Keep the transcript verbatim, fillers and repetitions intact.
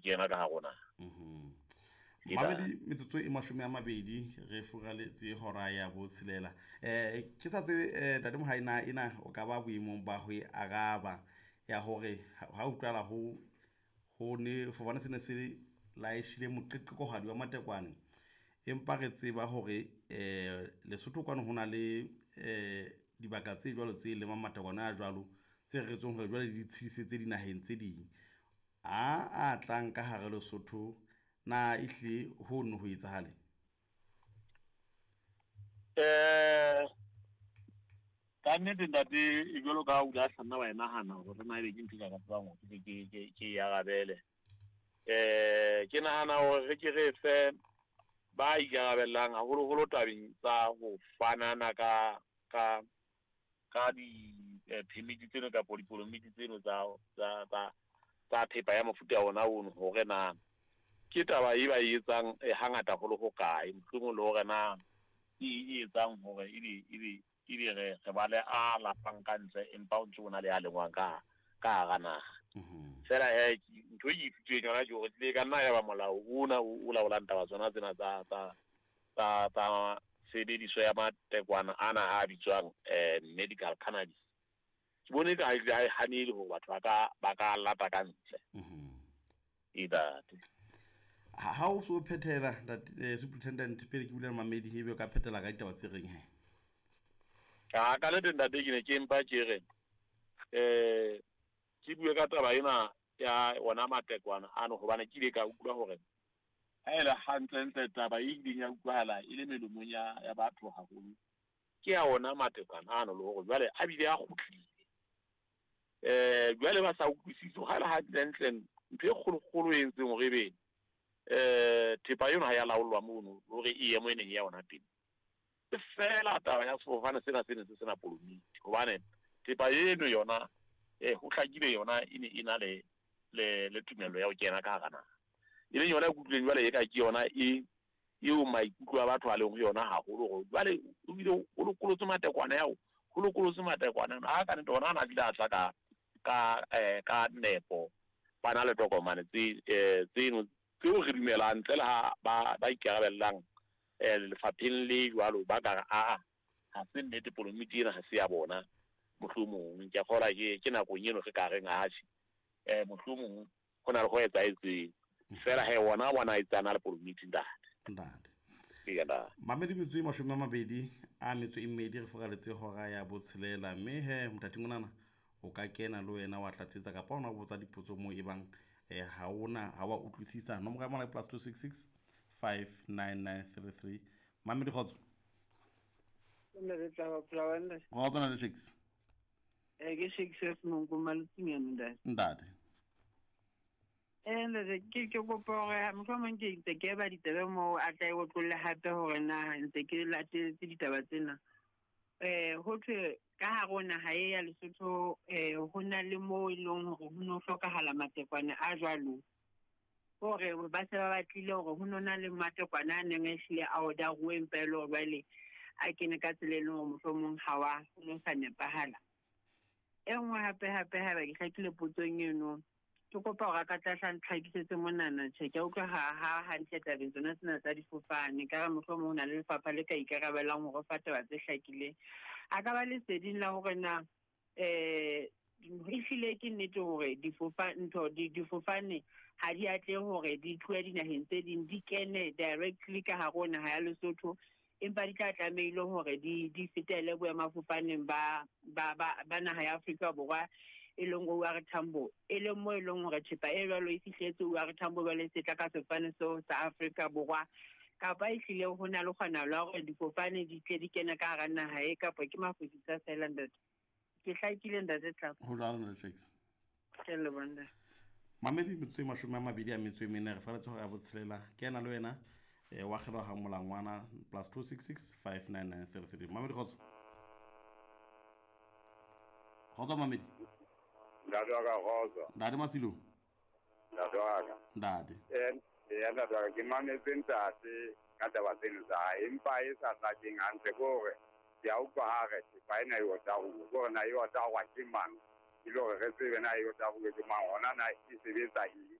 kena ka hare ho naha. Mhm. Mamedi metsotso e mashome a mabedi re furaletse hora ya botshelela. Eh ke sa tsebe eh Ntate Mohai na ena o ka ba boemong ba ho e araba ya hore ha utlwala ho ho ne sefofane se ne se laeshile moqeqekohadi wa matekwane, empa re tseba hore eh Lesotho kwano ho na le eh dibaka tse jwalo tse lemang matekwane a jwalo tse reretsweng hore jwale di tshedisetse dinaheng tse ding. A a tlang ka hare Lesotho na ehlile ho no ho etsahale? Eh ka nnete ntate, e jwalo ka ha o ile a hlanna wa e nahana hore na ebe ke ntho e ka tsebang hore ke ke ke e arabele. Eh ke nahana hore re ke re fe ba ikarabellang haholoholo tabeng tsa ho fanana ka ka ka di eh, permit tseno kapa dipolomiti tseno tsa tsa tsa tsa thepa ya mofuta ona ono, hore na ke taba e ba e etsang eh, hangata ho le hokae, mohlomong le hore na ke e etsang hore ebe ebe ebe re re ba le a lapang ka ntle empa o ntse o na le a lengwang ka ka hara naha. Mhm. Fela he ntho e ke ithuteng yona ke hore tlile ka nna ya ba molao ona o o laolang taba tsona tsena tsa tsa tsa tsa tshebediso ya matekwane ana a bitswang eh medical cannabis. Ke bone ka ha e hanele hore batho ba ka ba ka lata ka ntle. Mhm. E ntate. Ha ha o so phethela ntate eh, superintendent pele ke bula mamedi ebe o ka phethela ka ditaba tse reng he? Ka ka nnete ntate ke ne ke mpa ke re eh ke bue ka taba ena ya ona matekwane ano, hobane ke ile ka utlwa hore ha e le hantlentle taba e ileng ya utlwahala e le melomong ya ya batho haholo ke ya ona matekwane ano, le hore jwale a bile a kgutlile. Eh jwale ba sa utlwisise ha le hantlentle ntho e kgolokgolo e entseng hore ebe eh thepa eno ha ya laolwa mono hore e ye mo e neng ya ona teng, ke fela taba ya sefofane sena se ne se sena polomiti, hobane thepa eno yona eh ho hlakile yona e ne e na le le le tumello ya ho kena ka hara naha, e leng yona e kutlwileng jwale e ka ke yona e eo maikutlo a batho a leng ho yona haholo, hore jwale o bile o lokolotswe matekwane ao, ho lokolotswe matekwane ano a ka nnete ona a na bile a tla ka ka eh ka nepo, ba na le tokomane tse eh tseno tseo re dumelang ntle le ha ba ba ikarabellang eh lefapheng le jwalo ba ka re a ha se nnete polomiti ena ha se ya bona, mohlomong ke a kgolwa ke ke nakong eno re ka reng atjhe eh mohlomong ho na le ho etsahetseng fela he ona bona a etsana le polomiti ntate. Ntate. Eya ntate. Mamedi metsotso e mashome a mabedi a metso e mmedi re furaletse hora ya botshelela, mme he motating monana o ka kena le wena wa tlatsetsa kapa ona o botsa dipotso moo e bang eh ha ona ha wa utlwisisa. Nomoro ya mona ke plus two six six five nine nine three three. Mamedi kgotso. Ntate tla ba ntate. Kgotso ntate Shakes. Eh ke Shakes Monko Malutsinyane ntate. Ntate. Eh ntate ke ke kopa hore mohlomong ke ntse ke ba ditaba moo a tla e otlolle hape hore na ntse ke latetse ditaba tsena. Eh ho thwe ka hare ho naha e ya Lesotho eh ho na le moo e leng hore ho no hlokahala matekwane a jwalo, hore ba se ba batlile hore ho no na le matekwane a neng a hlile a order-uwe empa e le hore jwale a kene ka tsela e leng hore mohlomong ha wa ho no sa nepahala. E nngwe hape hape haeba ke hlakile potsong eno, ke kopa hore a ka tla hla ntlhakisetse monana. Tjhe, ke a utlwa ha ha hantle tabeng tsona tsena tsa difofane, ka re mohlomong ho na le lefapha le ka ikarabelang hore fa taba tse hlakileng. A ka ba leseding la hore na eh ehlile ke nnete hore difofa ntho di difofane ha di atlehe hore di tlohe dinaheng tse ding di kene directly ka hare ho naha ya Lesotho, empa di tla tlamehile hore di di fetele boemafofaneng ba ba ba ba naha ya Afrika Borwa e leng O R Tambo, e leng moo e leng hore thepa e jwalo e fihletse O R Tambo jwale e se tla ka sefofane seo sa Afrika Borwa, kapa ehlile ho na le kgonahalo ya hore difofane di tle di kene ka hara naha e, kapa ke mafosisa feela ntate. Ke hlakile ntate Tlhapo. Ho jwalo ntate Shakes. Ke a leboha ntate. Mamedi metsotso e mashome a mabedi a metso e mene re faletse hora ya botshelela. Ke ena le wena eh wa kgelwa ha molangwana plus two six six five nine nine three three. Mamedi kgotso. Kgotso Mamedi. Ntate wa ka kgotso. Ntate Masilo. Ntate wa ka. Ntate. Eh ya ntate wa ka ke mametse ntate ka taba tseno tsa hae, empa e sa hlakeng hantle ke hore ke a utlwa ha re thepa ena e otaruwe, ke hore na e otaruwa ke mang, e le hore re tsebe na e otaruwe ke mang, hona na e sebetsa eng.